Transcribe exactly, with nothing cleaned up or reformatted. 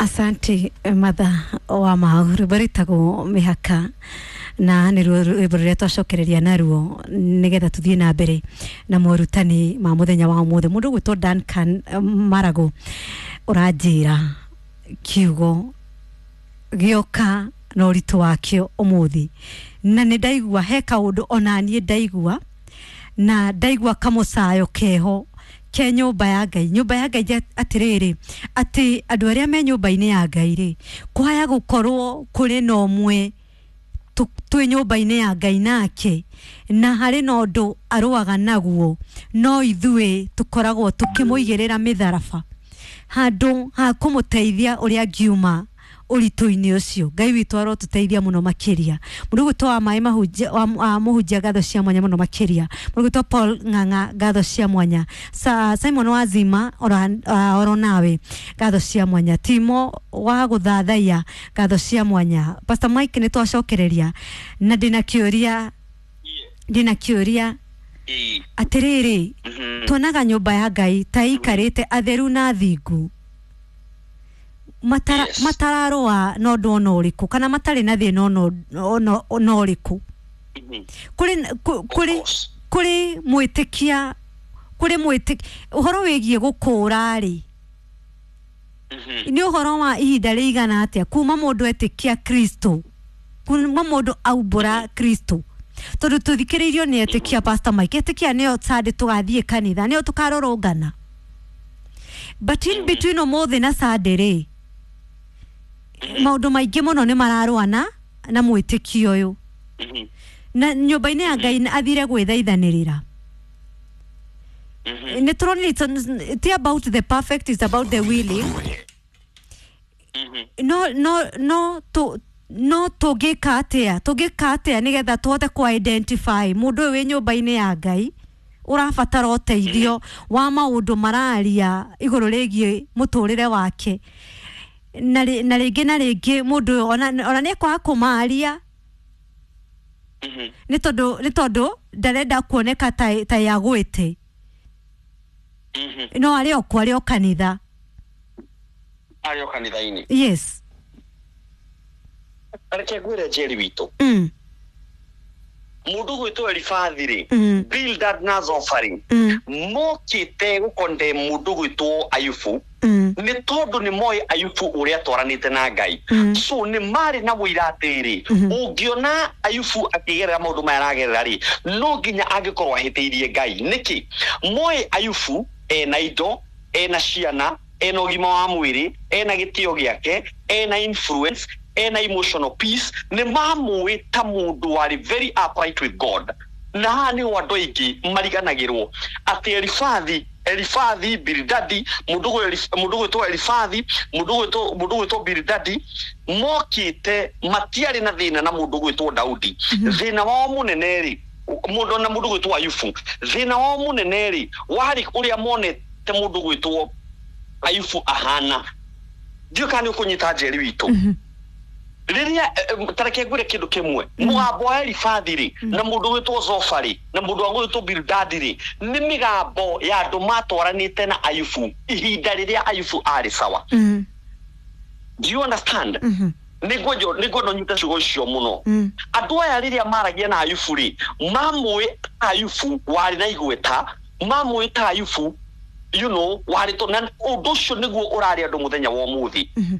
Asante matha wa mau. Rwĩmbo rwĩtagwo Mĩhaka, na nĩruo rwĩmbo rũrĩa twacokereria naruo nĩgetha tũthiĩ na mbere na morutani ma mũthenya wa ũmũthĩ. Mũndũ ũgwĩtwo Duncan eh, Marago ũranjĩra kiugo gĩoka na ũritũ wakĩo ũmũthĩ, na nĩ ndaigua he kaũndũ ona niĩ ndaigua, na ndaigua kamũcayo keho ke nyũmba ya Ngai, nyũmba ya Ngai. Atĩrĩrĩ, atĩ andũ arĩa me nyũmba-inĩ ya Ngai rĩ, kwaya gũkorwo kũrĩ na ũmwe tu- twĩ nyũmba-inĩ ya Ngai nake, na harĩ na ũndũ arũaga naguo, no ithuĩ tũkoragwo tũkĩmũigĩrĩra mĩtharaba handũ ha kũmũteithia ũrĩa angiuma ũritũ-inĩ ũcio. Ngai witũ arotũteithia mũno makĩria. Mũndũ ũgwĩtwo wa maĩ mahunjia wa wa mũhunjia, ngatho cia mwanya mũno makĩria. Mũndũ ũgwĩtwo Paul Ng'ang'a, ngatho cia mwanya. Sa, Simon Wazima, oro, uh, oro nawe ngatho cia mwanya. Timo wa gũthathaiya, ngatho cia mwanya. Pastor Mike, nĩ twacokereria na ndĩna kĩũria, ndĩna kĩũria. Ĩĩ. Atĩrĩrĩ, Mhm. tuonaga nyũmba ya Ngai ta ĩikarĩte atheru na thingu matara, Yes. matararũa na ũndũ ona ũrĩkũ kana matarĩ na thĩna ona ona- ona ũrĩkũ. Mhm. Kũrĩ kũ- kũrĩ course. Kũrĩ mwĩtĩkia, kũrĩ mwĩtĩkia ũhoro wĩgiĩ gũkũra rĩ, Mhm. nĩ ũhoro wa ihinda rĩigana atĩa kuma mũndũ etĩkia Kristo, kuma mũndũ aumbũra Kristo? Tondũ tũthikĩrĩirio nĩ etĩkia, Pastor Mike, etĩkia nĩo Sunday tũgathiĩ kanitha, nĩo tũkarũrũngana, but in between ũmũthĩ na Sunday rĩ, maũndũ maingĩ mũno nĩ mararũa na na mwĩtĩkio ũyũ Mhm. na nyũmba-inĩ ya Ngai athire gwĩthaithanĩrĩra. Mhm. Nĩ tũronire it's- ti about the perfect, it's about the willing. Mhm. no no no tu no tũngĩka atĩa, tũngĩka atĩa nĩgetha tũhote ku identify mũndũ ũyũ wĩ nyũmba-inĩ ya Ngai ũrabatara ũteithio wa maũndũ mararia igũrũ rĩgiĩ mũtũrĩre wake, na rĩ- na rĩngĩ na rĩngĩ mũndũ ũyũ ona ona nĩ ekwaga kũmaria Mhm. nĩ tondũ nĩ tondũ ndarenda kuoneka ta ta yagwĩte? Mhm. No arĩ o kuo, arĩ o kanitha. Arĩ o kanitha-inĩ. Yes. Reke ngwĩre, Njeri witũ, mm. mũndũ gwĩtwo Elifathi rĩ, Mm. Bildad na Zofari Mm. mokĩte gũkonde mũndũ gwĩtwo Ayubu Mm. nĩ tondũ nĩ moĩ Ayubu ũrĩa atwaranĩte na Ngai. Mm. So nĩ marĩ na mũira atĩrĩ, Mhm. ũngĩona Ayubu akĩgerera maũndũ maya aragerera rĩ, no nginya angĩkorwo ahĩtĩirie Ngai. Nĩkĩ moĩ Ayubu ena indo, ena ciana, ena ũgima wa mwĩrĩ, ena gĩtĩo gĩake, ena influence, ena emotional peace? Nĩ mamũĩ ta mũndũ warĩ very upright with God. Na haha nĩho andũ aingĩ mariganagĩrwo atĩ Elifathi Elifathi Bilidadi, mũndũ gwĩ- mũndũ gwĩtwo Elifathi, mũndũ gwĩtwo mũndũ gwĩtwo Bilidadi mokĩte matiarĩ na thĩna na mũndũ gwĩtwo Daudi. Thĩna wao mũnene rĩ, mũndũ na mũndũ gwĩtwo Ayubu, thĩna wao mũnene rĩ, warĩ ũrĩa monete mũndũ gwĩtwo Ayubu ahana. Ndiũ kana nĩ ũkũnyita, Njeri witũ. Mhm. Rĩrĩa eh, tareke ngwĩre kĩndũ kĩmwe, mũgambo wa Elifathi rĩ, na mũndũ gwĩtwo Zofa rĩ, na mũndũ wa gwĩtwo Bildadi rĩ, nĩ mĩgambo ya andũ matwaranĩte na Ayubu ihinda rĩrĩa Ayubu arĩ sawa. Mm. Do you understand? Mhm. Nĩ ngwenda ũnyite ciugo icio mũno. Mm. Andũ aya rĩrĩa maragia na Ayubu rĩ, mamũĩ Ayubu warĩ na igweta, mamũĩ ta Ayubu you know warĩ to, na ũndũ ũcio nĩguo ũrarĩ andũ mũthenya wa ũmũthĩ. Mhm.